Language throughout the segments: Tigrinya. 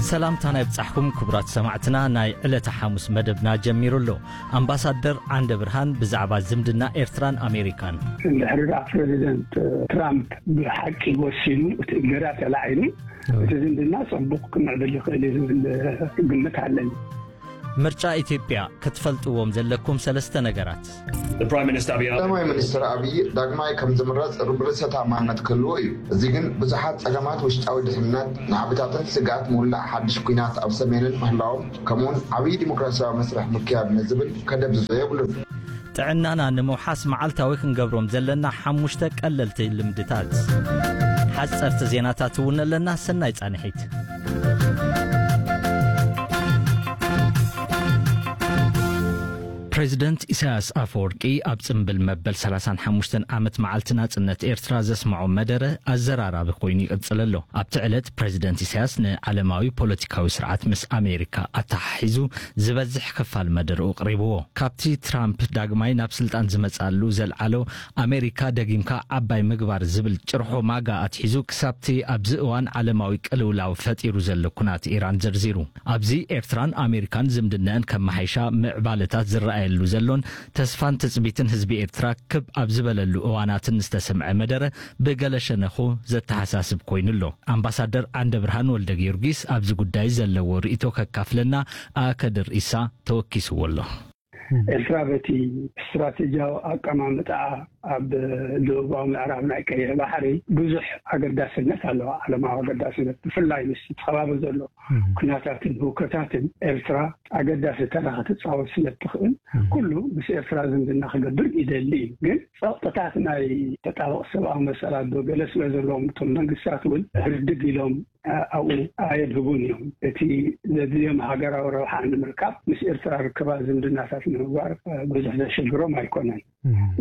ሰላምታና ይብጻሕኩም ክቡራት ሰማዕትና፣ ናይ ዕለተ ሓሙስ መደብና ጀሚሩ ኣሎ። ኣምባሳደር ዓንደ ብርሃን ብዛዕባ ዝምድና ኤርትራን ኣሜሪካን። እንድሕሪ ደኣ ፕረዚደንት ትራምፕ ብሓቂ ወሲኑ፣ እቲ እገዳ ተላዒሉ፣ እቲ ዝምድና ጽቡቕ ክምዕብል ይኽእል እዩ ዝብል ግምት ኣለኒ። ምርጫ ኢትዮጵያ ክትፈልጥዎም ዘለኩም ሰለስተ ነገራት። The Prime Minister Abiy ቀዳማይ ሚኒስትር ኣብይ ዳግማይ ከም ዝምረጽ ርብርሰ ተኣማንነት ክህልዎ እዩ። እዚ ግን ብዙሓት ጸገማት ውሽጣዊ ድሕነት፣ ናዕብታትን ስግኣት ምውላዕ ሓድሽ ኲናት ኣብ ሰሜንን ምህላዎም፣ ከምኡውን ዓብዪ ዲሞክራሲያዊ መስርሕ ምክያድ ንዝብል ከደብዝዞ የብሉን። ጥዕናና ንምውሓስ መዓልታዊ ክንገብሮም ዘለና ሓሙሽተ ቀለልቲ ልምድታት። ሓጸርቲ ዜናታት እውን ኣለና። ሰናይ ጻንሒት። ፕሬዚደንት ኢሳያስ ኣፈወርቂ ኣብ ጽምብል መበል ሰላሳን ሓሙሽተን ዓመት መዓልቲ ናጽነት ኤርትራ ዘስምዖ መደረ ኣዘራራቢ ኮይኑ ይቕጽል ኣሎ። ኣብቲ ዕለት ፕሬዚደንት ኢሳያስ ንዓለማዊ ፖለቲካዊ ስርዓት ምስ ኣሜሪካ ኣተሓሒዙ ዝበዝሕ ክፋል መደርኡ ኣቕሪብዎ። ካብቲ ትራምፕ ዳግማይ ናብ ስልጣን ዝመጽኣሉ ዘልዓሎ ኣሜሪካ ደጊምካ ዓባይ ምግባር ዝብል ጭርሖ ማጋ ኣትሒዙ ክሳብቲ ኣብዚ እዋን ዓለማዊ ቅልውላው ፈጢሩ ዘሎ ኩናት ኢራን ዘርዚሩ። ኣብዚ ኤርትራን ኣሜሪካን ዝምድነአን ከመሓይሻ ምዕባለታት ዝረኣየሉ ዘሎን ተስፋን ትጽቢትን ህዝቢ ኤርትራ ክብ ኣብ ዝበለሉ እዋናትን ዝተሰምዐ መደረ ብገለ ሸነኹ ዘተሓሳስብ ኮይኑ ኣሎ። ኣምባሳደር ዓንደ ብርሃን ወልደ ጊዮርጊስ ኣብዚ ጉዳይ ዘለዎ ርእይቶ ከካፍለና ኣከድር ኢሳ ተወኪስዎ ኣሎ። ኤርትራ በቲ ስትራቴጂያዊ ኣቀማምጣኣ ኣብ ደቡባዊ ምዕራብ ናይ ቀይሕ ባሕሪ ብዙሕ ኣገዳስነት ኣለዋ። ዓለማዊ ኣገዳስነት፣ ብፍላይ ምስ እቲ ከባቢ ዘሎ ኩነታትን ህውከታትን ኤርትራ ኣገዳሲ ተራ ክትጻወት ስለ እትኽእል፣ ኩሉ ምስ ኤርትራ ዝምድና ክገብር ይደሊ እዩ። ግን ጸቕጥታት ናይ ተጣበቕ ሰብኣዊ መሰላት ዶ ገለ ስለ ዘለዎም፣ እቶም መንግስታት እውን ህርድግ ኢሎም ኣብኡ ኣየድህቡን እዮም። እቲ ዘድልዮም ሃገራዊ ረብሓ ንምርካብ ምስ ኤርትራ ርክባት ዝምድናታት ንምግባር ብዙሕ ዘሸግሮም ኣይኮነን።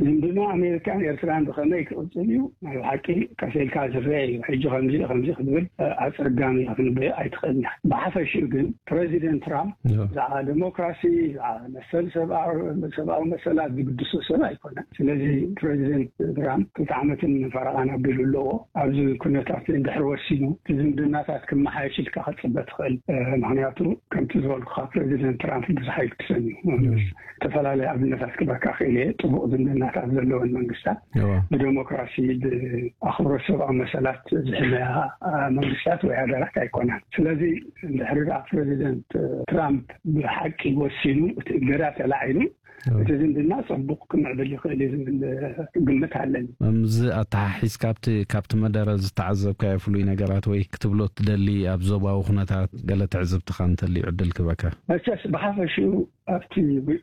ዝምድና ኣሜሪካን ኤርትራን ብኸመይ ክቕጽል እዩ? ናይ ብሓቂ ቀስ ኢልካ ዝረአ እዩ። ሕጂ ከምዚ ከምዚ ክትብል ኣጸጋሚ ክንበዮ ኣይትኽእልን። ብሓፈሽኡ ግን ፕረዚደንት ትራምፕ ብዛዕባ ዴሞክራሲ፣ ብዛዕባ መሰል ሰብኣዊ መሰላት ዝግድሶ ሰብ ኣይኮነን። ስለዚ ፕረዚደንት ትራምፕ ክልተ ዓመትን ፈረቓን ኣቢሉ ኣለዎ። ኣብዚ ኩነታት እንድሕር ወሲኑ፣ እቲ ዝምድናታት ክመሓየሽ ኢልካ ክትጽበ ትኽእል። ምኽንያቱ ከምቲ ዝበልኩኻ ፕረዚደንት ትራምፕ ብዙሕ ኣይግድሰን እዩ። ዝተፈላለዩ ኣብነታት ክበካ ክእል እየ። ጥቡቕ ዝምድናታት ዘለወን መንግስታት፣ ብደሞክራሲ፣ ብኣኽብሮት ሰብኣዊ መሰላት ዝሕለያ መንግስታት ወይ ሃገራት ኣይኮናን። ስለዚ እንድሕሪ ደኣ ፕረዚደንት ትራምፕ ብሓቂ ወሲኑ፣ እቲ እገዳ ተላዒሉ፣ እቲ ዝምድና ጽቡቕ ክምዕብል ይኽእል እዩ ዝብል ግምት ኣለኒ። ምዚ ኣተሓሒዝካ ኣብቲ ካብቲ መደረ ዝተዓዘብካዮ ፍሉይ ነገራት ወይ ክትብሎ ትደሊ ኣብ ዞባዊ ኩነታት ገለ ትዕዝብትኻ እንተልዩ ዕድል ክበካ። መቸስ ብሓፈሽኡ ኣብቲ